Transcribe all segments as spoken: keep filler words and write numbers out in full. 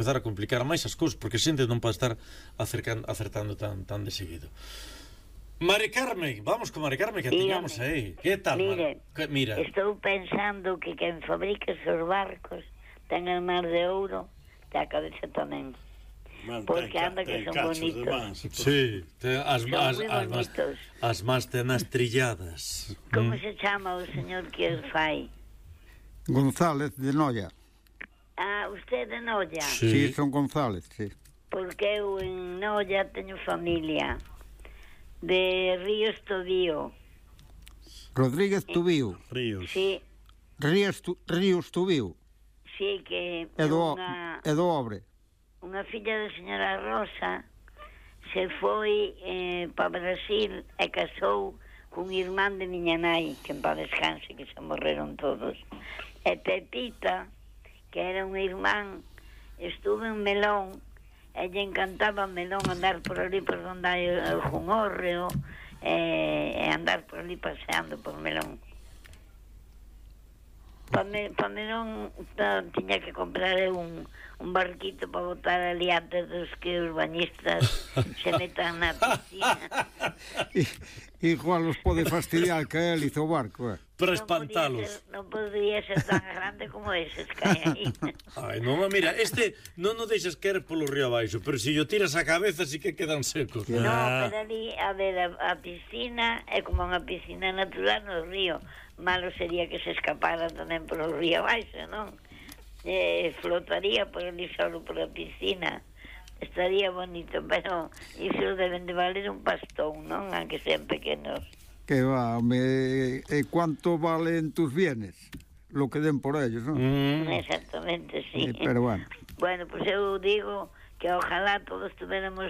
empezar a complicar máis as cousas, porque a xente non pode estar acercando, acertando tan, tan de seguido. Mari Carmen, vamos con Mari Carmen, que tiñamos aí. Que tal, Mire, Mari? Mira, estou pensando que quen fabrica esos barcos ten el mar de ouro da cabeza tamén. Porque anda que son bonitos. Sí, te, as, son as, moi as, bonitos. As más tenas trilladas. Como mm. se chama o señor que os fai? González de Noia. Ah, usted de Noia? Sí, sí, son González, sí. Porque eu en Noia teño familia de Ríos Tobío. Rodríguez Tubío. Ríos. Sí. Ríos, tu, Ríos Tubío. Sí, que é do, unha, é do Obre. Unha filla da señora Rosa se foi eh, para Brasil e casou cun irmán de miña nai, que en paz descanse, que se morreron todos. E Pepita, que era un irmán, estuve en Melón e lle encantaba Melón, andar por ali por donde hai o Jungórreo e, e andar por ali paseando por Melón. Para me, pa Melón pa, tiña que comprar un, un barquito para botar ali antes dos que os bañistas se metan na piscina. Igual os pode fastidiar que él hizo o barco, eh? Para espantalos. Non podría ser tan grande como eses que hai aí. Ai, non, mira, este non o deixas caer polo río abaixo, pero se si o tiras a cabeza sí que quedan secos. No, ah. pero ali, a ver, a, a piscina é como unha piscina natural no río. Malo sería que se escapara tamén polo río abaixo, non? Eh, flotaría por ali solo por a piscina. Estaría bonito, pero iso deben de valer un pastón, non? Aunque sean pequenos. Que va, me, eh, ¿cuánto valen tus bienes? Lo que den por ellos, ¿no? Mm. Exactamente, sí. sí. Pero bueno. Bueno, pues eu digo que ojalá todos tuviéramos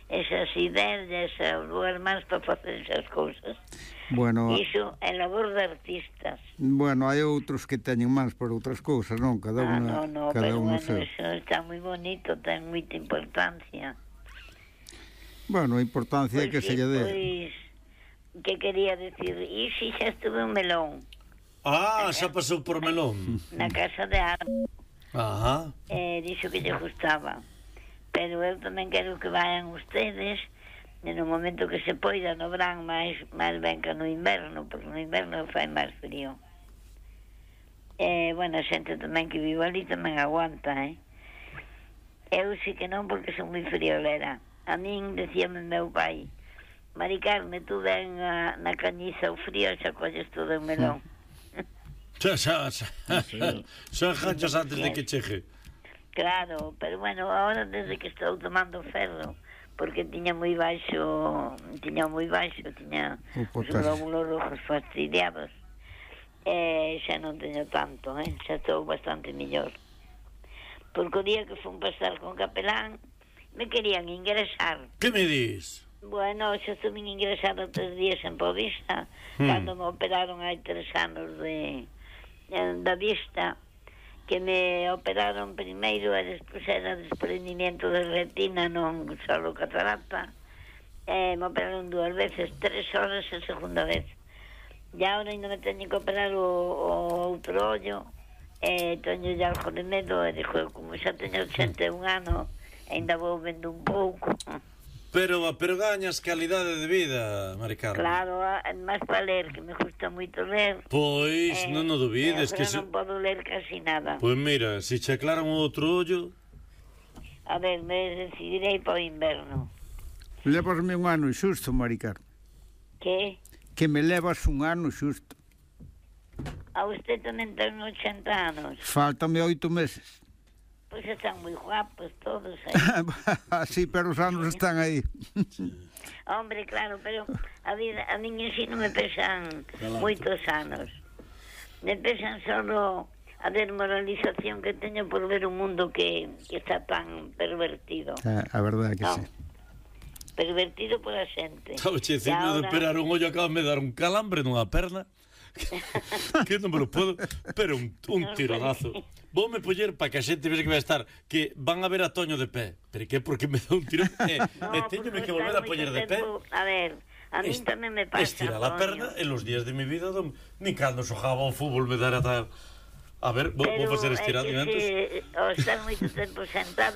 esas ideas e ese lugar máis para facer esas cousas. Bueno, iso é labor de artistas. Bueno, hai outros que teñen máis por outras cousas, non? Cada ah, unha, no, no, cada pero unha bueno, seu. Eso está moi bonito, ten moita importancia. Bueno, a importancia é pues que sí, se lle dé. Pois, que quería decir, e si xa estuve en Melón. Ah, xa pasou por Melón. Na casa de Arno. Ajá. Eh, dixo que lle gustaba. Pero eu tamén quero que vayan ustedes no momento que se poida, no verán máis, máis ben que no inverno, porque no inverno fai máis frío. Eh, bueno, a xente tamén que vive ali tamén aguanta, eh? Eu sí que non, porque son moi friolera. A min decíame meu pai, Mari Carmen, tú ven a, na cañiza o frío, xa colles todo en Melón. Xa, xa, xa. Xa ganchas antes de que chegue. Claro, pero bueno, ahora desde que estou tomando ferro, porque tiña moi baixo, tiña moi baixo, tiña os glóbulos rojos fastidiados. Eh, xa non teño tanto, eh? Xa estou bastante mellor. Porque o día que fun pasar con capelán, me querían ingresar. Que me dis? Bueno, xa estuve ingresado tres días en Povista, hmm. cando me operaron hai tres anos de, de da vista, que me operaron primeiro e despois era desprendimiento de retina, non solo catarata. Eh, me operaron dúas veces, tres horas a segunda vez. E agora ainda me teño que operar o, o outro ollo, e eh, teño ya algo de medo, e dixo, como xa teño ochenta e un anos, ainda vou vendo un pouco. Pero, pero gañas calidade de vida, Mari Carmen. Claro, máis para ler, que me gusta moito ler. Pois, eh, non o dubides, que non so... podo ler casi nada. Pois mira, se che aclaran o outro ollo. A ver, me decidirei para o inverno. Levasme un ano xusto, Mari Carmen. Que? Que me levas un ano xusto. A usted tamén ten ochenta anos. Fáltame oito meses. Pois pues están moi guapos todos aí. Sí, pero os anos están aí. Hombre, claro, pero a vida, a min en si non me pesan moitos anos. Me pesan solo a desmoralización que teño por ver un mundo que, que está tan pervertido. Ah, a verdade que no. Sí. Pervertido pola xente. Estaba che dicindo ahora... de operar un ollo, acaba de dar un calambre nunha perna. Que non me lo puedo, pero un, un tironazo. Voume poñer para que a xente vexe que vai estar, que van a ver a Toño de pé. Pero que porque me dá un tiro e, no, e teñome que volver a poñer de pé. A ver, a mí tamén me pasa. Estira a perna en los días de mi vida, don, ni cando xogaba ao fútbol me dara tal. A ver, vou, vou facer estiramentos. Pero é que se, o estar moito tempo sentado